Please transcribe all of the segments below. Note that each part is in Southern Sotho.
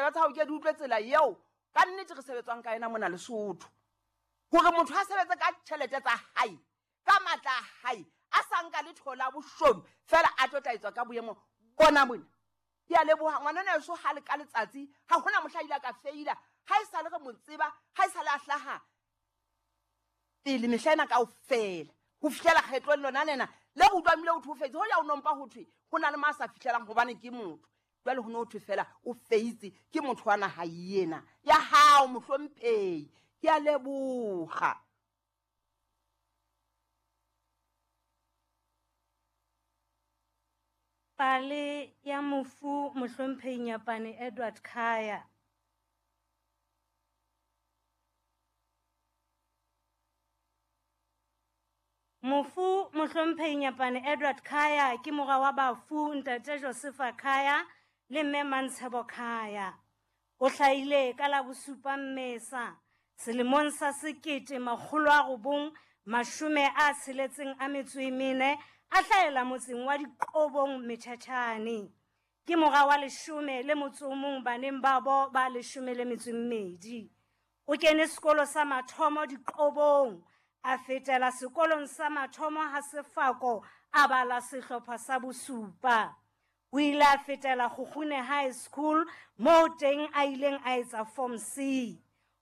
Ditsebe tsa hao ke di utlwe tsela eo ka nnete re sebetswang ka ena mona Lesotho. Hore motho a sebetse ka tjhelete tsa hae, ka matla a hae, a sa nka letho la boshodu, fela a tlo tla etswa ka boemo bona mona. Ke a leboha ngwanana eso ha le ka letsatsi, ha hona mohla a ile a ka feila, ha e sale re mo tseba, ha e sale a hlaha pele mehla ena kaofela ho fihlela kgetlong lona lena le re utlwang bile ho thwe o feitse. Hoja o nompa ho thwe ho na le ma sa fihlelang hobane ke motho. Jwale ho ne ho thwe fela o feitse ke motho wa naha ena ya hao mohlomphehi. Ke a leboha. Pale ya mofu mohlomphehi Nyapane Edward Khaya. Mofu mohlomphehi Nyapane Edward Khaya ke mora wa bafu ntate Josefa Khaya le mme Mantshebo Khaya. O hlahile ka la bosupa Mmesa selemong sa 1964 a hlahela motseng wa Diqobong Metjhatjhane. Ke mora wa 18 baneng babo ba 12. O kene sekolo sa mathomo Diqobong, a fetela sekolong sa mathomo ha Sefako a bala sehlopha sa bosupa. O ile a fetela Kgukgune High School moo teng a ileng a etsa Form C.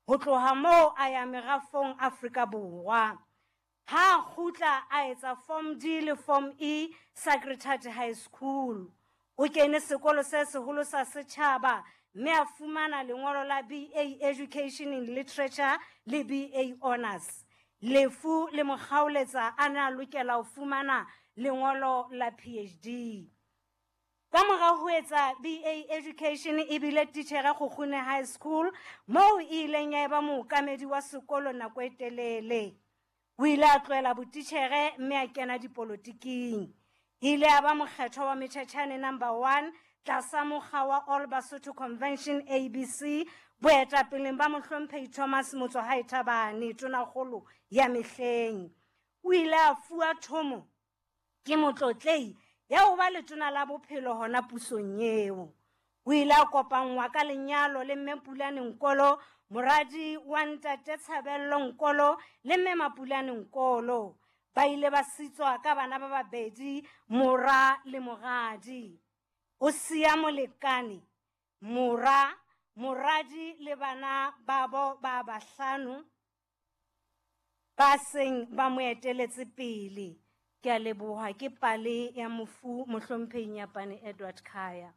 Ho tloha moo a ya merafong Afrika Borwa. Ha kgutla a etsa Form D le Form E Sacred Heart High School. O kene sekolo se seholo sa setjhaba mme a fumana lengolo la BA Education in Literature le BA Honors. Lefu le mo kgaoletsa a ne a lokela ho fumana lengolo la PhD. Ka mora ho etsa BA Education e bile titjhere Kgukgune High School moo e ileng ya eba mookamedi wa sekolo nako e telele. O ile a tlohela botitjhere mme a kena dipolotiking. Ile a ba mokgethwa wa Metjhetjhane number 1 tlasa mokga wa All Basotho Convention ABC boetapeleng ba mohlomphehi Thomas Motsoahae Thabane tonakgolo ya mehleng. O ile a fuwa thomo ke motlotlei ya ho ba letona la bophelo hona pusong eo. O ile a kopanngwa ka lenyalo le mme Pulane Nkolo, moradi wa ntate Tshabello Nkolo le mme Mapulane Nkolo. Ba ile ba sitswa ka bana ba babedi, mora le moradi. O siya molekane, mora, moradi le bana babo ba bahlano ba seng ba mo eteletse pele. Ke a leboha. Ke pale ya mofu mohlomphehi Nyapane Edward Khaya.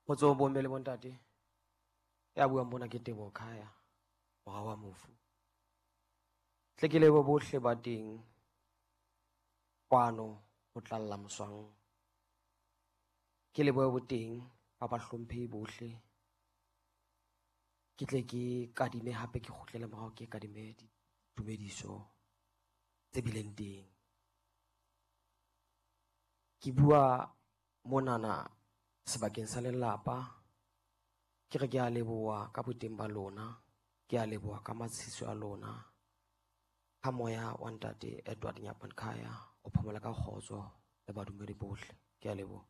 Kgotso bomme le bontate. Ya buang bona ke Teboho Khaya, mora wa mofu. Tle ke lebohe bohle ba teng kwano ho tlalla moswang. Ke lebohe boteng ba bahlomphehi bohle. Ke tle ke kadime hape ke kgutlele morao ke kadime ditumediso tse bileng teng. Ke bua monana sebakeng sa lelapa. Ke re ke a leboha ka boteng ba lona, ke a leboha ka matshiso a lona. Ha moya wa ntate Edward Nyapane Khaya o phomola ka kgotso le badumedi bohle. Ke a leboha.